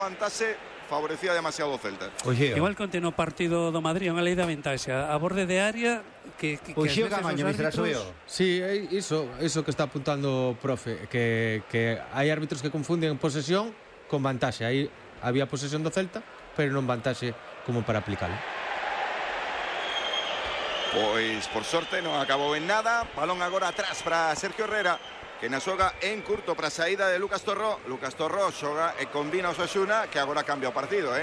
levantase favorecía demasiado o Celta. Oxe, igual que onte no partido do Madrid, unha lei da ventaxa a borde de área que Oxe, Camaño, Mr. Asubio. Sí, iso que está apuntando o profe, que hai árbitros que confunden posesión con vantaxe. Aí había posesión do Celta, pero non vantaxe como para aplicalo. Pois por sorte non acabou en nada. Balón agora atrás para Sergio Herrera, que na xoga en curto para a saída de Lucas Torró. Lucas Torró xoga e combina o Osasuna, que agora cambia o partido,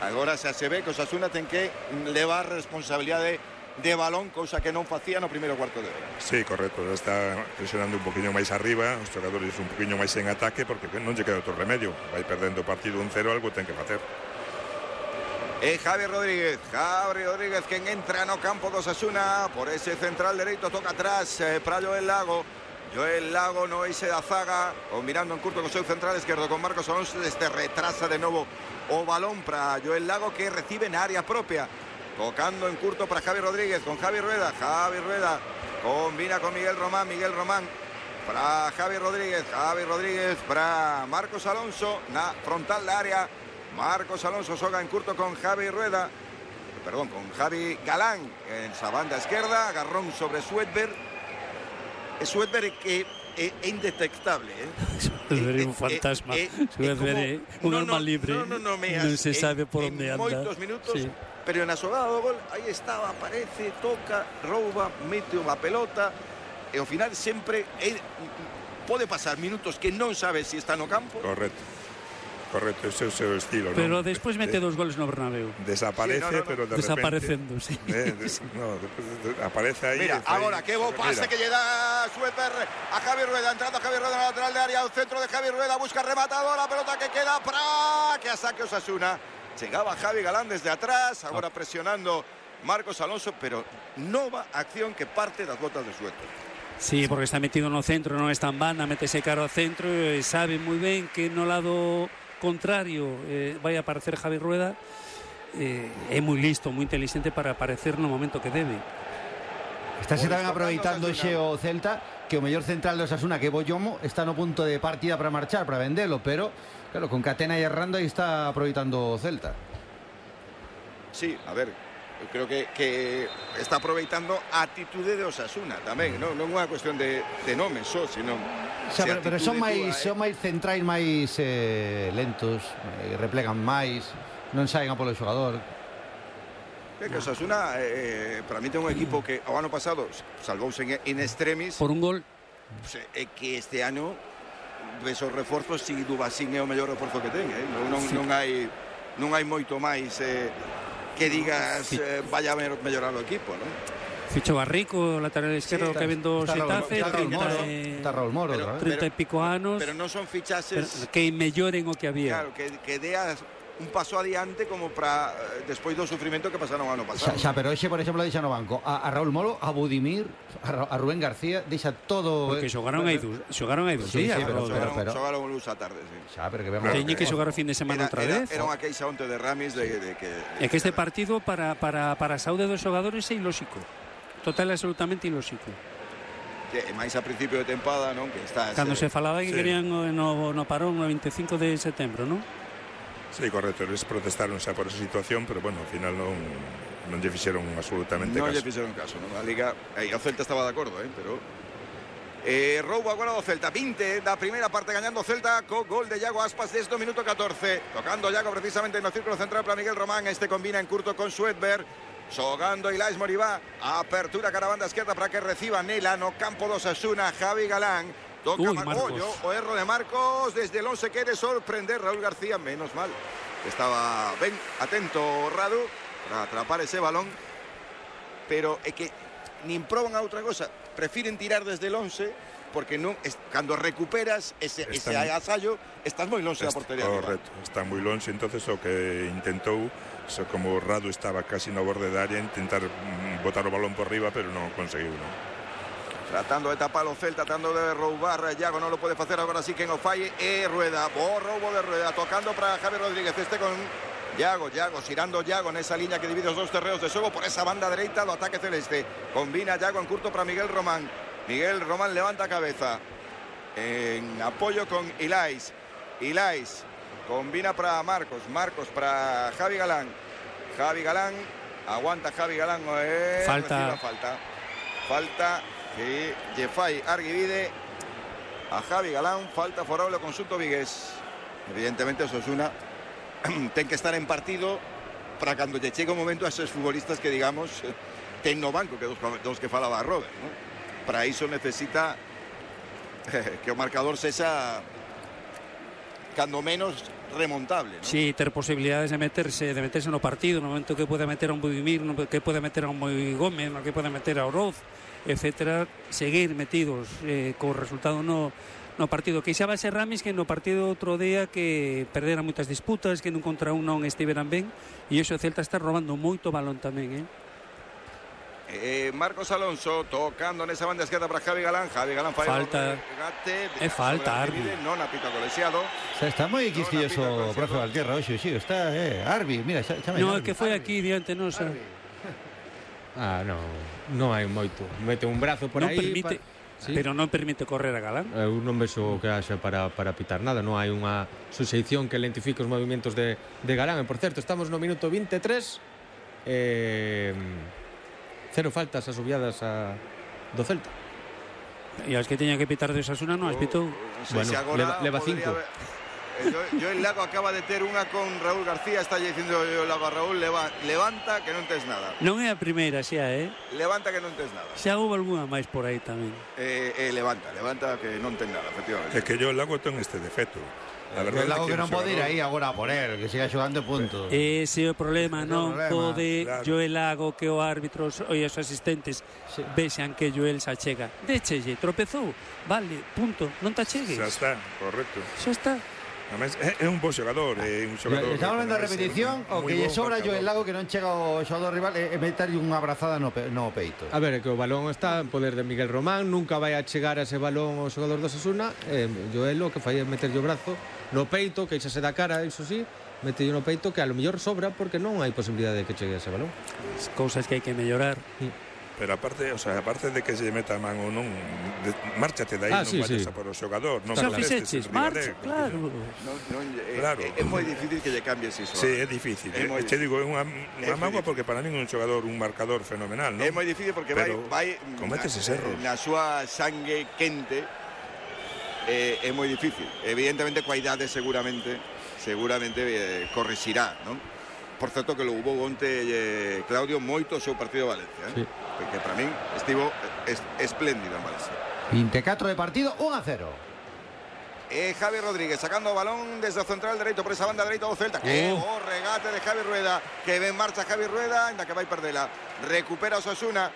Agora xa se ve que o Osasuna ten que levar responsabilidade de balón, cousa que non facía no primeiro cuarto de hora. Sí, correcto, está presionando un poquinho máis arriba, os xogadores un poquinho máis en ataque, porque non lle queda outro remedio. Vai perdendo o partido 1-0, algo ten que facer. Javi Rodríguez quen entra no campo do Osasuna por ese central dereito, toca atrás para Joel Lago no eixe da zaga, combinando en curto con o seu central esquerdo con Marcos Alonso, desde retrasa de novo o balón para Joel Lago, que recibe na área propia, tocando en curto para Javi Rodríguez con Javi Rueda combina con Miguel Román para Javi Rodríguez para Marcos Alonso na frontal da área. Marcos Alonso xoga en curto con Javi Galán en esa banda izquierda, agarrón sobre Suedberg que é indetectable, Suedberg é un fantasma, Suedberg é un alma libre, non se sabe por onde anda moitos minutos, sí. Pero na xogada do gol, aí estaba, aparece, toca, rouba, mete unha pelota, e ao final sempre pode pasar minutos que non sabe se está no campo. Correcto, ese é o seu estilo. Pero despois mete 2 goles no Bernabéu. Desaparece, pero de desaparecendo, sí. Aparece aí. Mira, agora que bo pase que lle dá Suedberg a Javi Rueda, entrando Javi Rueda na lateral de área, o centro de Javi Rueda, busca rematadora, pelota que queda para que a saque Osasuna. Chegaba Javi Galán desde atrás, agora presionando Marcos Alonso, pero nova acción que parte das botas de Suedberg. Sí, porque está metido no centro, non está en banda, métese cara ao centro e sabe moi ben que no lado contrario vai a aparecer Javi Rueda, é moi listo, moi inteligente para aparecer no momento que debe. Estáse tamén aproveitando xe o Celta, que o mellor central do Osasuna, que é Boyomo, está no punto de partida para marchar, para vendelo, pero claro, con Catena e errando aí está aproveitando o Celta. Sí, a ver, eu creo que está aproveitando a atitude de Osasuna tamén, non é unha cuestión de nome só, sino pero son máis centrais máis lentos, replegan máis, non saen a polo xogador. Que Osasuna para mí ten un equipo que o ano pasado salvouse in extremis por un gol, que este ano ves os reforzos, si Dubasín é o mellor reforzo que ten, non hai moito máis que digas vaya a mellorar o equipo, non? Ficho Barrico, lateral izquierdo, que vendo Xetafe, está Raúl Moro, 30 e pico anos, pero non son fichaxes que melloren o que había. Claro, que deas un paso adiante como para despois do sufrimento que pasaron o ano pasado. Xa, pero hoxe, por exemplo, deixa no banco a Raúl Moro, a Budimir, a Rubén García, deixa todo. Porque xogaron aí dous días, pero xogaron luz a tarde, sí. Xa, pero que vemos. Teñen que xogar o fin de semana outra vez. Era unha queixa onte de Ramis de que é que este partido para a saúde dos xogadores é ilóxico. Total e absolutamente ilóxico. E máis a principio de tempada, non? Que está cando se falaba que querían no parón no 25 de setembro, non? Sí, correcto, eles protestaron xa por esa situación, pero bueno, ao final non lle fixeron absolutamente caso. Non lle fixeron caso, non? A Liga, o Celta estaba de acordo, pero roubo agora do Celta, 20 da primeira parte gañando o Celta co gol de Iago Aspas desde o minuto 14, tocando Iago precisamente no círculo central para Miguel Román, este combina en curto con Suedberg, xogando Ilaix Moribá, apertura cara a banda esquerda para que reciba Nela no campo do Osasuna, Javi Galán, toca o erro de Marcos, desde el 11 quere sorprender Raúl García, menos mal, estaba ben atento Radu para atrapar ese balón, pero é que nin proban a outra cosa, prefiren tirar desde el 11, porque non, cando recuperas ese agasallo, estás moi lonxe da portería. Correcto, está moi lonxe, entonces o que intentou, como Radu estaba casi no borde da área, intentar botar o balón por riba, pero non conseguiu, non? Tratando de tapar o Celta, tratando de roubar Iago, non lo pode facer, agora sí que en o falle é Rueda, bo roubo de Rueda, tocando para Javi Rodríguez, este con Iago, xirando Iago nesa liña que divide os dous terreos de xogo por esa banda dereita do ataque celeste, combina Iago en curto para Miguel Román levanta a cabeza en apoio con Ilaix combina para Marcos para Javi Galán. Aguanta Javi Galán, falta que Jefai Arguivide a Javi Galán, falta favorable ao conxunto vigués. Evidentemente Osasuna ten que estar en partido para cando lle chegue o momento a esos futbolistas que digamos ten no banco, que dos que falaba Robert, ¿no? Para iso necesita que o marcador sexa cando menos remontable, ¿no? Sí, ter posibilidades de meterse no partido, no momento que pueda meter a un Budimir, no que pueda meter a un Moi Gómez, no que pueda meter a Oroz, etcétera, seguir metidos co resultado no partido. Queixaba ser Ramis que no partido outro día que perderan moitas disputas, que nun contra un non estiveran ben, e iso o Celta está robando moito balón tamén, Marcos Alonso tocando nesa banda esquerda para Javi Galán falta Arbi, non apita colexiado. Está moi quisquilloso o profe Valtierra hoxe, sí, está Arbi, mira, chama. No, é que foi aquí diante nosa. Non hai moito. Mete un brazo por aí. Permite, sí, pero non permite correr a Galán. Eu non vexo que haxa para pitar nada. Non hai unha suxeición que lentifique os movimentos de Galán. E, por certo, estamos no minuto 23. 0 faltas asubiadas do Celta. E as que teñan que pitar de Osasuna non as pitou. Bueno, leva 5. Joel Lago acaba de ter unha con Raúl García. Está dicindo Joel Lago a Raúl, levanta que non tes nada. Non é a primeira xa, Levanta que non tes nada. Xa houve algunha máis por aí tamén. Levanta que non ten nada, efectivamente. É que Joel Lago ten este defecto. El Lago que non pode ir aí agora a poner, que siga xogando punto. Ese é o problema, non pode Joel Lago que o árbitros e os asistentes vexan que Joel se achega. Déchelle, tropezou, vale, punto, non te achegues. Xa está, correcto. Xa está. Además, é un bo xogador, é un xogador. Estamos vendo a repetición, o que lle sobra Joel Lago que non chega ao xogador rival é meterlle unha abrazada no peito. A ver, é que o balón está en poder de Miguel Román, nunca vai a chegar a ese balón o xogador do Osasuna. Joel o que fai é meterlle o brazo no peito, que xa se dá cara, iso sí, metelle no peito que a lo mellor sobra porque non hai posibilidade de que chegue a ese balón. As cousas que hai que mellorar. Pero aparte de que se meta a man ou non, márchate dai, non vayas a por o xogador, non fixeches, marcha, claro. É moi difícil que lle cambies iso. Sí, é difícil. Te digo, é unha mágoa porque para min é un xogador, un marcador fenomenal, non? É moi difícil porque vai comete eses erros. Na súa sangue quente. É moi difícil. Evidentemente coa idade seguramente corrixirá, non? Por certo que lo hubo onte Claudio moito o seu partido de Valencia, sí, que para min estivo espléndido en Valencia. 24 de partido, 1-0. Javi Rodríguez sacando o balón desde o central dereito por esa banda dereita do Celta. Que o regate de Javi Rueda, que ven marcha Javi Rueda, ainda que vai perdela. Recupera Osasuna.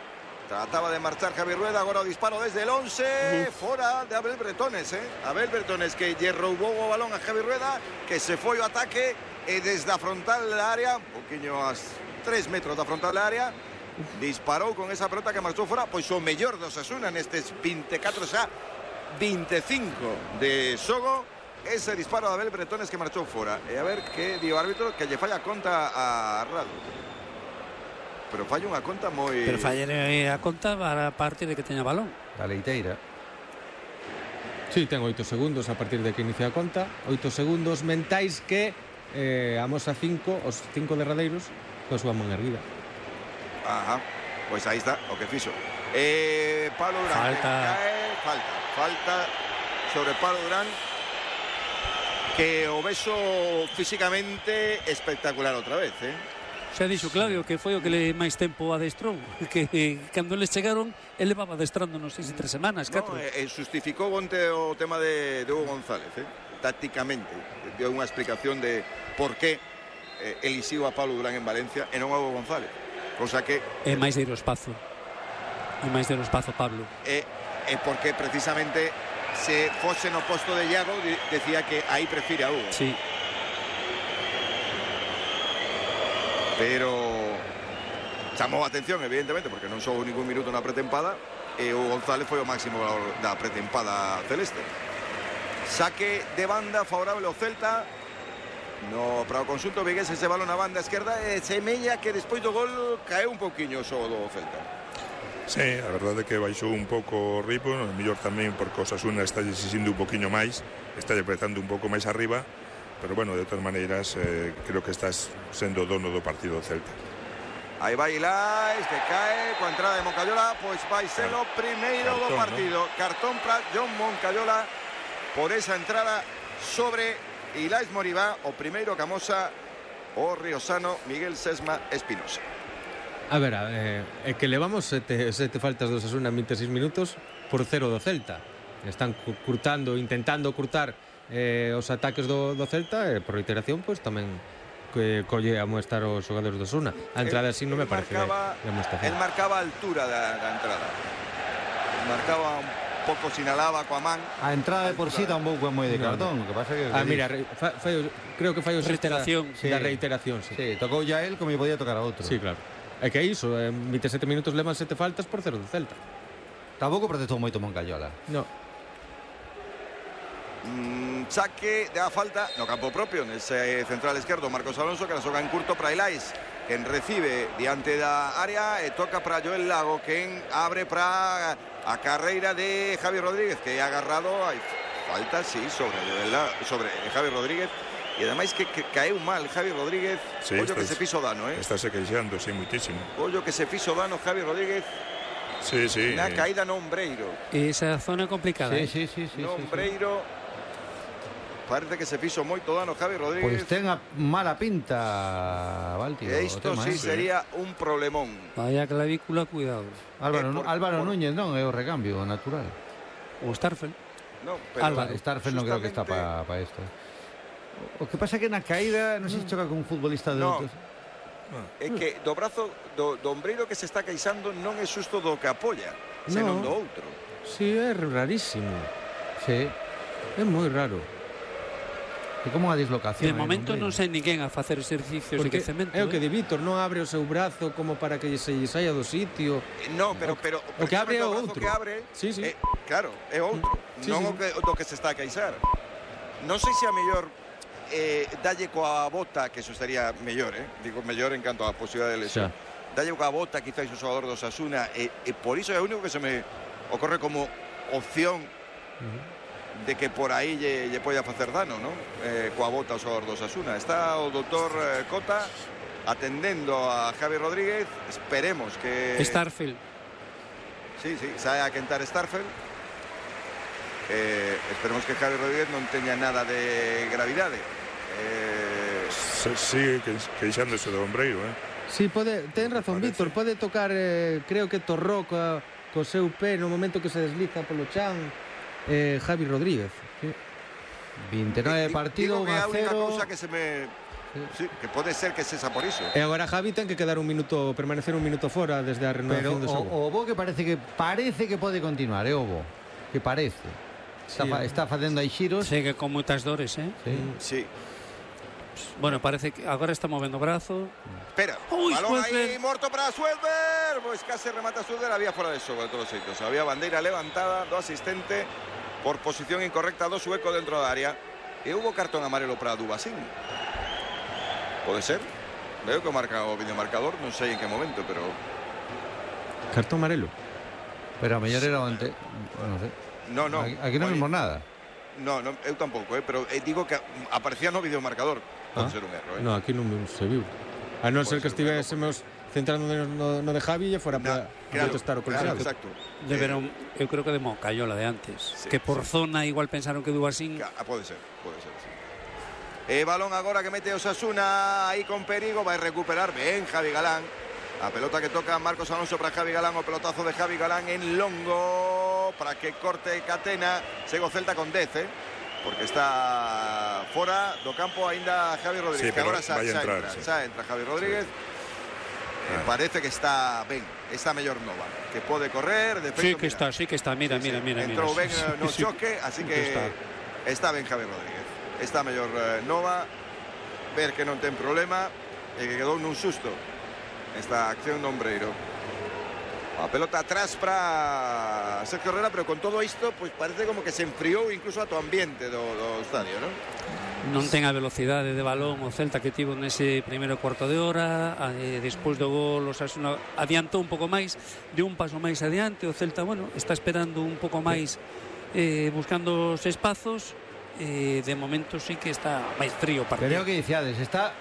Trataba de marchar Javi Rueda, agora o disparo desde el 11, fora de Abel Bretones, Abel Bretones que lle roubou o balón a Javi Rueda, que se foi o ataque e desde a frontal da área, un poquinho a 3 metros da frontal da área, disparou con esa pelota que marchou fora, pois o mellor do Osasuna nestes 24 xa 25 de xogo, ese disparo de Abel Bretones que marchou fora. E a ver que di o árbitro, que lle falla conta a Radu. Pero falla unha conta moi... Pero falla a conta a partir de que teña balón. A leiteira. Sí, ten 8 segundos a partir de que inicia a conta. 8 segundos mentais que amosa 5, os 5 derradeiros, coa súa man erguida. Ajá, pois aí está o que fixo. Pablo Durán. Falta sobre Pablo Durán, que o beso físicamente espectacular outra vez, Xa dixo Claudio que foi o que le máis tempo adestrou, que cando eles chegaron ele levaba adestrando non sei se 3 semanas, 4. Justificou onte o tema de Hugo González, tácticamente deu unha explicación de por qué elixiu a Pablo Durán en Valencia e non a Hugo González, cosa que é máis de ir ao espazo, Pablo, e porque precisamente se fose no posto de Iago decía que aí prefire a Hugo. Sí. Pero chamou a atención, evidentemente, porque non sou ningún minuto na pretempada, e o González foi o máximo da pretempada celeste. Saque de banda favorable ao Celta para o conxunto vigués, ese balón na banda esquerda, e semella que despois do gol caeu un pouquiño o xogo do Celta. Sí, a verdade é que baixou un pouco o ritmo, mellor tamén porque o Osasuna está exixindo un poquinho máis, está empezando un pouco máis arriba, pero bueno, de todas maneiras creo que estás sendo dono do partido do Celta. Aí vai Ilais, que cae coa entrada de Moncayola, pois vai ser o primeiro do partido. Cartón para John Moncayola por esa entrada sobre Ilais Moribá, o primeiro que amosa o riosano Miguel Sesma Espinosa. A ver, é que levamos sete faltas do Osasuna en 26 minutos por 0 do Celta. Están intentando curtar os ataques do Celta, e por reiteración, pois tamén que colle a muestar os xogadores do Osasuna. A entrada así non me parece de amoestación. El marcaba a altura da entrada. Marcaba un pouco, sinalaba coa man. A entrada de por sí tampouco é moi de cartón. O que pasa que mira, creo que fai o reiteración. Da reiteración, sí. Sí, tocou ya él como podía tocar a outro. Sí, claro. É que iso, en 27 minutos levan 7 faltas por 0 do Celta. Tampouco protestou moito Moncayola. No. Saque da falta no campo propio, nese central esquerdo Marcos Alonso, que la soca en curto para Ilais, quen recibe diante da área e toca para Joel Lago, quen abre para a carreira de Javi Rodríguez, que é agarrado. Hai falta, sí, sobre Javi Rodríguez, e ademais que caeu mal Javi Rodríguez. Sí, ollo que se fixo dano, está se queixando, sí, muitísimo. Ollo que se fixo dano Javi Rodríguez. Sí, sí. Na caída no Ombreiro. Esa zona complicada. Sí. No Ombreiro. Parece que se fixo moito dano Javi Rodríguez. Pois ten a mala pinta, Valti. E isto sí sería un problemón. Vaya clavícula, cuidado. Álvaro Núñez non é o recambio natural. O Starfel. No, pero Starfel non creo que está para isto. O que pasa é que na caída non se choca con un futbolista de outros. É que do brazo do Ombreiro que se está queixando non é xusto do que apoia, senón do outro. Sí, é rarísimo. Sí. É moi raro. É como unha dislocación. De momento non sei ninguén a facer exercicios de quecemento. É o que di Vítor, non abre o seu brazo como para que se lle saia do sitio. No, pero o que abre é o outro. Que abre, sí. Claro, é outro. Non o que se está a queixar. Non sei se a mellor dalle coa bota, que eso estaría mellor, digo mellor en canto a posibilidade de lesión. Dalle coa bota quizás o xogador do Osasuna, e por iso é o único que se me ocorre como opción de que por aí lle poida facer dano, non? Coa bota o xogador do Osasuna. Está o doutor Cota atendendo a Javi Rodríguez. Esperemos que Starfel. Sí, sae a quentar Starfel. Esperemos que Javi Rodríguez non teña nada de gravidade. Sigue queixándose do Ombreiro, Sí, ten razón Víctor, pode tocar, creo que torró co seu pé no momento que se desliza polo chan Javi Rodríguez. 29 partido, 1-0. É a única cousa que se me... Sí, que pode ser que sexa por iso. E agora Javi ten que permanecer un minuto fora desde a renovación do xogo. O Bo que parece que pode continuar, o Bo, que parece. Está facendo aí xiros. Segue con moitas dores, Sí. Bueno, parece que agora está movendo o brazo. Espera, balón aí morto para Suelver. Pois case remata Suelver, había fora de xogo de todos os xeitos. Había bandeira levantada do asistente por posición incorrecta do sueco dentro da área. E hubo cartón amarelo para Dubasín. Pode ser. Veo que marca o videomarcador, non sei en que momento, pero... Cartón amarelo. Pero a mellor era antes, non sei. No. Aquí non vimos nada. No, eu tampouco, pero digo que aparecía no videomarcador. Pode ser un erro, No, aquí non se viu. A non ser que estivésemos centrando no de Javi e fora para protestar o colegiado. Exacto. Eu creo que de Moncayola de antes, que por zona igual pensaron que Dubasín. Pode ser, sí. Balón agora que mete Osasuna aí con perigo, vai recuperar ben Javi Galán. A pelota que toca Marcos Alonso para Javi Galán, o pelotazo de Javi Galán en longo para que corte Catena. Segue o Celta con 10, porque está fora do campo aínda Javi Rodríguez, que agora xa entra Javi Rodríguez. Parece que está ben, está mellor Nova, que pode correr, de feito, sí que está, mira. Entrou ben no choque, así que está ben Javi Rodríguez. Está mellor Nova, ver que non ten problema e que quedou nun susto esta acción do Ombreiro. A pelota atrás para Sergio Herrera, pero con todo isto, pues parece como que se enfriou incluso a todo ambiente do estadio, ¿no? Non ten a velocidade de balón o Celta que tivo nese primeiro cuarto de hora. Despois do gol o Osasuna adiantou un pouco máis, de un paso máis adiante. O Celta, bueno, está esperando un pouco máis, buscando os espazos, de momento sí que está máis frío o partido. Pero é o que dicíades, está